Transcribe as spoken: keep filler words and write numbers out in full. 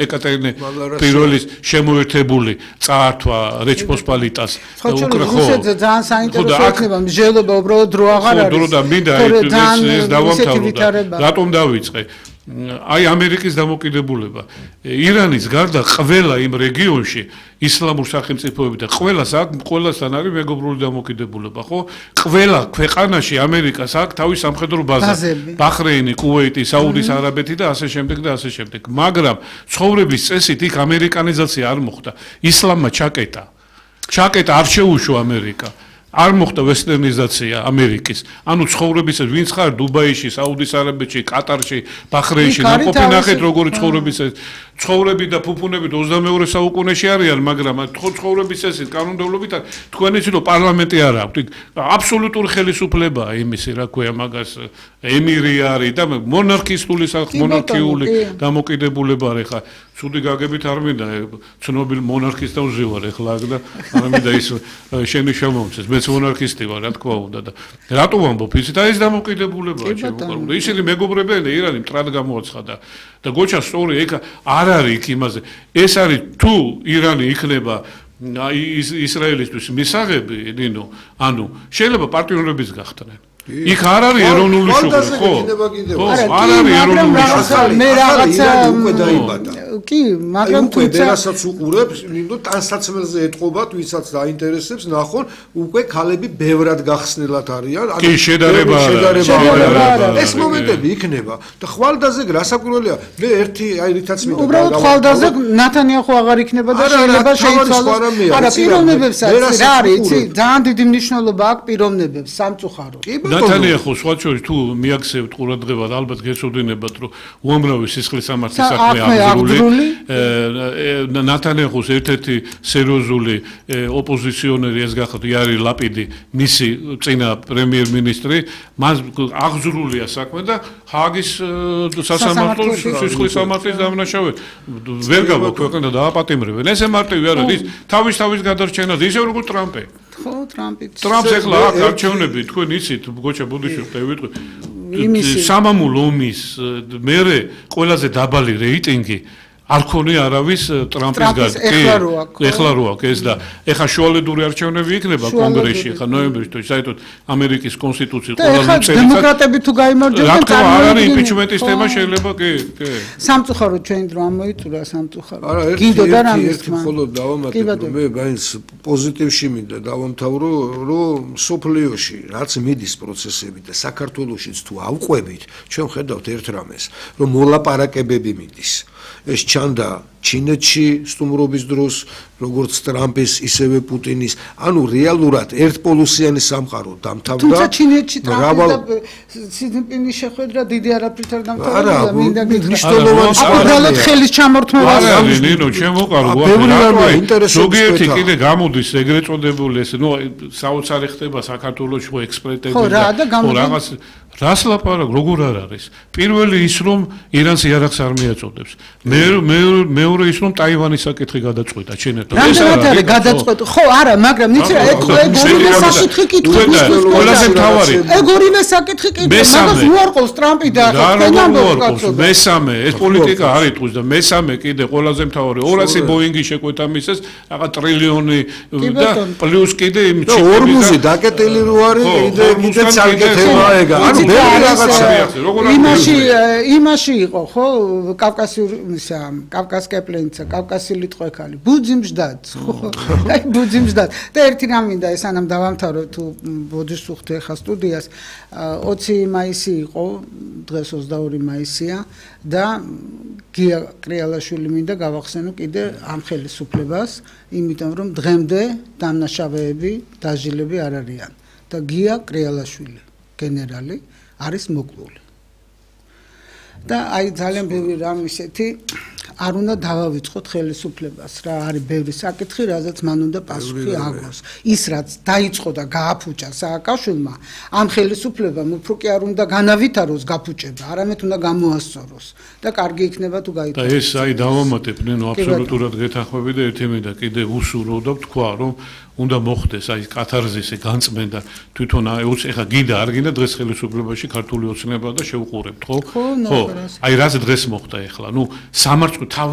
ეკატერინე პირველის შემოერთებული წაართვა რეჩპოსპალიტას რუსეთზე ძალიან საინტერესო იქნება მსჯელობა უბრალოდ დრო აღარ არის დრო და მინდა ეს დავამთავრდა რატომ დავიწყე აი ამერიკის დამოკიდებულება ირანის გარდა ყველა იმ რეგიონში ისლამურ სახელმწიფოები და ყველას აქ ყველასთან არის მეგობრული დამოკიდებულება ხო ყველა ქვეყანაში ამერიკას აქვს თავის სამხედრო ბაზა ბაჰრეინი კუვეიტი საუდის არაბეთი და ასე შემდეგ და ასე შემდეგ მაგრამ ცხოვრების წესით იქ ამერიკანიზაცია არ მოხდა ისლამმა ჩაკეტა ჩაკეტა არ შეუშვა ამერიკა არ მოხდა ვესტერნიზაცია ამერიკის. ანუ ცხოვრებისას ვინც ხარ დუბაიში, საუდის არაბეთში, კატარში, ბაჰრეინში, ნაყოფი ნახეთ როგორი ცხოვრებისას ცხოვრები და ფუფუნები ოცდამეორე საუკუნეში არიან, მაგრამ ცხოვრების წესით კანონმდებლობით თქვენ იცით რომ პარლამენტი არ აქვს. აბსოლუტური ხელისუფლებაა იმისი, რა ქვია მაგას ემირი არის და მონარქისტული მონარქიული დამოკიდებულება არის ხა. ცუდი გაგებით არ მინდა ცნობილ მონარქისტთან ვზივარ ეხლა და არ მინდა ის შენი შემომწეს მეც მონარქისტი ვარ რა თქვა უნდა და რატო ვამბობ ისეთ აი ეს დამოკიდებულებაა ჩემო და ისინი მეგობრებია ირანი მტრად გამოაცხადა და გოჩა სწორი ეკა არ არის იქ იმაზე ეს არის თუ ირანი იქნება ისრაელისთვის მისაღები ნინო ანუ შეიძლება პარტნიორების გახდნენ იქ არ არის ეროვნული შუქი ხო? ხო, არ არის ეროვნული შუქი. მე რაღაცა უკვე დაიბადა. კი, მაგრამ თუმცა ვერასაც უყურებს, ნინო ტანსაცმელზე ეტყობათ, ვისაც დაინტერესებს, ნახონ, უკვე ქალები ბევრად გახსნილად არიან. კი, შედარება არა. ეს მომენტები იქნება და ხვალდაზე გასაკვირველია. მე ერთი აი რითაც მინდა უბრალოდ ხვალდაზე ნათანიაჰუ აღარ იქნება და შეიძლება შეიცვალოს. არა, პიროვნებებსაც რა არის, იცი? ძალიან დიდი მნიშვნელობა აქვს პიროვნებებს, სამწუხაროდ. ნათანიაჰუ სხვა შორის თუ მიაქცევთ ყურადღებად ალბათ გეცოდინებათ რომ უამრავი სისხლის სამართლის საქმე აღძრული ნათანიაჰუს ერთ-ერთი სერიოზული ოპოზიციონერი ეს გახდა იარი ლაპიდი მისი წინა პრემიერ-მინისტრი მას აღძრულია საქმე და ჰააგის სასამართლოს სისხლის სამართლის დამნაშავედ ვერ გავაქვეყნდა და აპატიმრებენ ესე მარტივი არ არის თავის თავის გადარჩენაზე ისე როგორც ტრამპი ხო ტრამპი ტრამპს ეხლა აქ არჩევნები თქვენ იცით გოჩა ბუდიშვილი ვიტყვი სამამულო ომის მერე ყველაზე დაბალი რეიტინგი არ ქონია არავის ტრამპის გარდა კი ეხლა რო აქვს ეს და ეხლა შუალედური არჩევნები იქნება კონგრესში ეხლა ნოემბერში თუ საერთოდ ამერიკის კონსტიტუციის ყველა წელი დემოკრატები თუ გაიმარჯვებენ რა არ არის იმპიჩმენტის თემა შეიძლება კი კი სამწუხაროდ ჩვენ დრო ამოიწურა სამწუხაროდ გინდოდა რამის თქმა ხოლო დავამატებ რომ მე მაინც პოზიტივში მინდა დავამთავრო რომ სოფლიოში რაც მიდის პროცესები და საქართველოშიც თუ ავყვებით ჩვენ ხედავთ ერთ რამეს რომ მოლაპარაკებები მიდის ეს ჩანდა ჩინეთში სტუმრობის დროს როგორც ტრამპის ისევე პუტინის ანუ რეალურად ერთპოლუსიანი სამყარო დამთავრდა თუმცა ჩინეთში ტრამპის და სიძინპინის შეხვედრა დიდი არაფრით არ დამთავრდა მინდა მნიშვნელოვანი უბრალოდ ხელის ჩამორთმევა არის ნინო ჩემოყარო ზოგიერთი კიდე გამოდის ეგრეთ წოდებული ეს ნუ საოცარი ხდება საქართველოში ხო ექსპერტები და რაღაც რას ლაპარაკ როგორ არ არის პირველი ის რომ ირანს იარაღს არ მიაწოდებს მე მეორე ის რომ ტაივანის საკითხი გადაწყვეტა ჩინეთთან ეს არის გადაწყვეტა ხო არა მაგრამ იცი რა ეგ ორივე საკითხი კითხვის ყველაზე მთავარი ეგ ორივე საკითხი კითხვა მაგას უარყოს ტრამპი და ხენამდე მესამე ეს პოლიტიკა არ იტყვის და მესამე კიდე ყველაზე მთავარი ორასი ბოინგი შეკვეთა მისეს რაღაც ტრილიონი და პლუს კიდე იმ ორმუზი დაკეტილი რო არის კიდე კიდე საკითხია ეგ ანუ იმაში იმაში იყო ხო კავკასიური ისა კავკასკეპლენცა კავკასილიტყვექალი ბუძიმჟდად ხო აი ბუძიმჟდად და ერთი რამ მინდა ეს ანამ დავამთავრო თუ ბოდიშს უხდე ხა სტუდიას ოცი მაისი იყო დღეს ოცდაორი მაისია და გია კრიალაშვილი მინდა გავახსენო კიდე ამ ხელისუფლებას იმიტომ რომ დღემდე დამნაშავეები დაჟილები არ არიან და გია კრიალაშვილი გენერალი არის მოკლული. და აი ძალიან ბევრი რამ ისეთი არ უნდა დავავიწყოთ ხელისუფლებას რა არის ბევრი საკითხი რაზეც მან უნდა პასუხი აგოს. ის რაც დაიწყო და გააფუჭა სააკაშვილმა ამ ხელისუფლებამ უფრო კი არ უნდა განავითაროს გაფუჭება, არამედ უნდა გამოასწოროს და კარგი იქნება თუ გაიწევს. და ეს აი დავამატებ ნინო აბსოლუტურად გეთანხმები და ერთი მინდა კიდე უსურო და ვთქვა რომ უნდა მოხდეს აი კათარზისი განწმენდა თვითონ ეხა გინდა არ გინდა დღეს ხელისუფლებაში ქართული ოცნება და შევუყურებთ ხო? ხო, აი რაც დღეს მოხდა ეხლა. ნუ სამართლ თავის